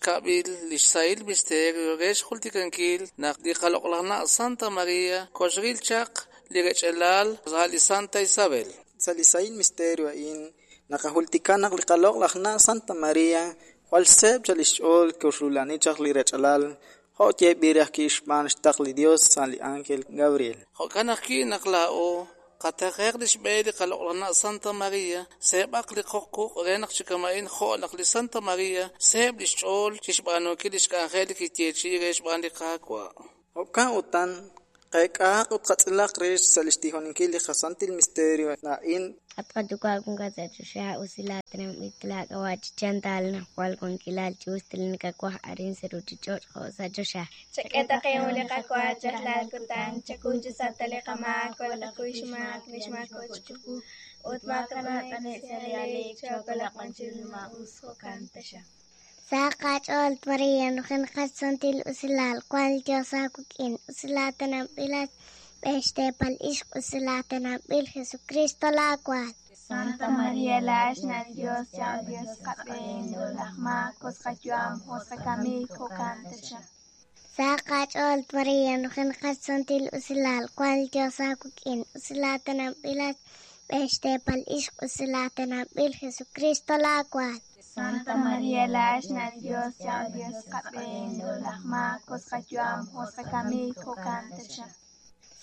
Xkab'il li xsahil misterio re xjultikankil naq li qaloq'laj na' Santa Maria koxril chaq li rech'elal sa' li Santa Isabel. Sa' li sahil misterio a'in naqajultika naq li qaloq'laj na' Santa Maria jwal seeb' chaq lix ch'ool koxrula'ani chaq li rech'alal jo' yeeb'il re ajwi' xb'aan xtaql li Dios sa' li ángel Gabriel. Jo'kan ajwi' naq laa'o qataqe'q li xb'e li qaloq'laj na' Santa Maria, seeb'aq li qoq quq' re naq chi kama'in jo' naq li Santa Maria seeb' lix ch'ool chixb'aanunkil lix k'anjel li kiyeechi'i re xb'aan li Qaawa'. Jo'kan utan qeek'ahaq ut qatz'ilaq rix sa' lix tijoninkil li qasantil misterio a'in. At qayuwa' wankat sa' choxa, usilal tenamit laak'ab'a' chi chantal naq jwal wankilal chi us nakawaj arin sa' ruuchich'och' jo' sa' choxa. Chak'e taqe'un li qawa rajlal kutan, chakuy chi sa' ta li qamaak, walakuy xmaak li xmaako chiqu, ut maakanab' sa' li aleek, chookolaq b'an chiru li maa'us, jo'kan taxaq. Sa' qach'ool Maria, nujenaqat santil usilal, wank li Dios aawik'in, usilal tenambilat b'e xteepal ixq, usilal tenambil Jesucristo laawaal. Santa Maria la xna' li Dios, cha'al Dios qab'een, laj maak, us qayu'am, us qakamik, jo'kan taxaq. Sa' qach'ool Maria, nujenaqat santil usilal, wank li Dios aawik'in, usilal tenambilat b'e xteepal ixq, usilal tenambil Jesucristo laawaal. Santa Maria la xna' li Dios, cha'al Dios qab'een, laj maak, us qayu'am, us qakamik, jo'kan taxaq.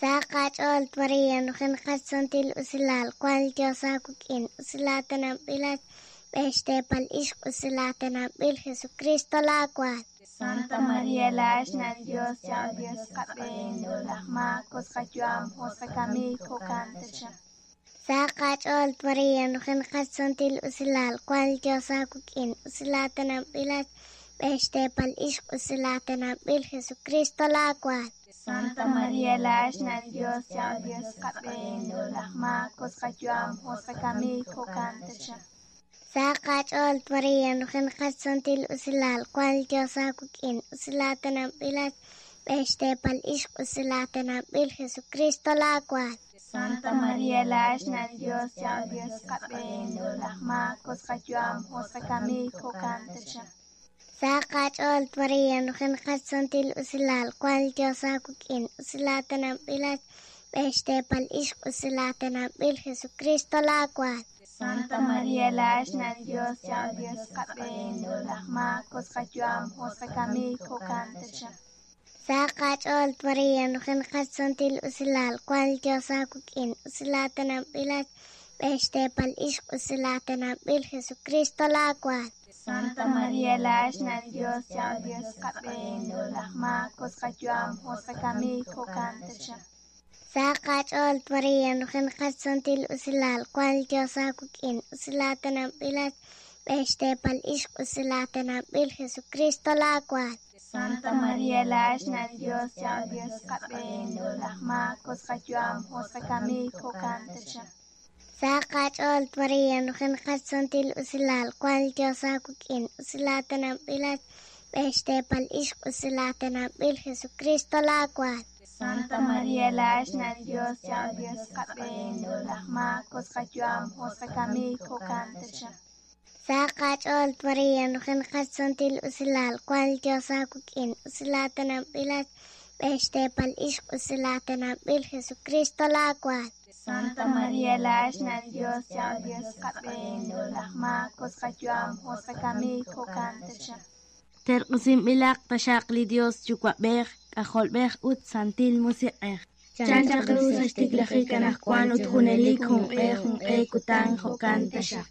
Sa' qach'ool Maria, nujenaqat santil usilal, wank li Dios aawik'in, usilal tenambilat b'e xteepal ixq, usilal tenambil Jesucristo laawaal. Santa Maria la xna' li Dios, cha'al Dios qab'een, laj maak, us qayu'am, us qakamik, jo'kan taxaq. Sa' qach'ool Maria, nujenaqat santil usilal, wank li Dios aawik'in, usilal tenambilat b'e xteepal ixq, usilal tenambil Jesucristo laawaal. Santa Maria la xna' li Dios, cha'al Dios qab'een, laj maak, us qayu'am, us qakamik, jo'kan taxaq. Sa' qach'ool Maria, nujenaqat santil usilal, wank li Dios aawik'in, usilal tenambilat b'e xteepal ixq, usilal tenambil Jesucristo laawaal. Santa Maria la xna' li Dios, cha'al Dios qab'een, laj maak, us qayu'am, us qakamik, jo'kan taxaq. Sa' qach'ool Maria, nujenaqat santil usilal, wank li Dios aawik'in, usilal tenambilat b'e xteepal ixq, usilal tenambil Jesucristo laawaal. Santa Maria la xna' li Dios, cha'al Dios qab'een, laj maak, us qayu'am, us qakamik, jo'kan taxaq. Sa' qach'ool Maria, nujenaqat santil usilal, wank li Dios aawik'in, usilal tenambilat b'e xteepal ixq, usilal tenambil Jesucristo laawaal. Santa Maria la xna' li Dios, cha'al Dios qab'een, laj maak, us qayu'am, us qakamik, jo'kan taxaq. Sa' qach'ool Maria, nujenaqat santil usilal, wank li Dios aawik'in, usilal tenambilat b'e xteepal ixq, usilal tenambil Jesucristo laawaal. Santa Maria la xna' li Dios, cha'al Dios qab'een, laj maak, us qayu'am, us qakamik, jo'kan taxaq. Sa' qach'ool Maria, nujenaqat santil usilal, wank li Dios aawik'in, usilal tenambilat b'e xteepal ixq, usilal tenambil Jesucristo laawaal. Santa Maria la xna' li Dios, cha'al Dios qab'een, laj maak, us qayu'am, us qakamik, jo'kan taxaq. Sa' qach'ool Maria, nujenaqat santil usilal, wank li Dios aawik'in, usilal tenambilat b'e xteepal ixq, usilal tenambil Jesucristo laawaal. Santa Maria la xna' li Dios, cha'al Dios qab'een, laj maak, us qayu'am, us qakamik, jo'kan taxaq. Terq'usinb'ilaq taxaq li Dios Yuwa'b'ej, K'ajolb'ej ut Santil Musiq'ej. Chan chaq ru sa' xtiklajik anaqwan ut junelik junq'e junq'e kutan jo'kan taxaq.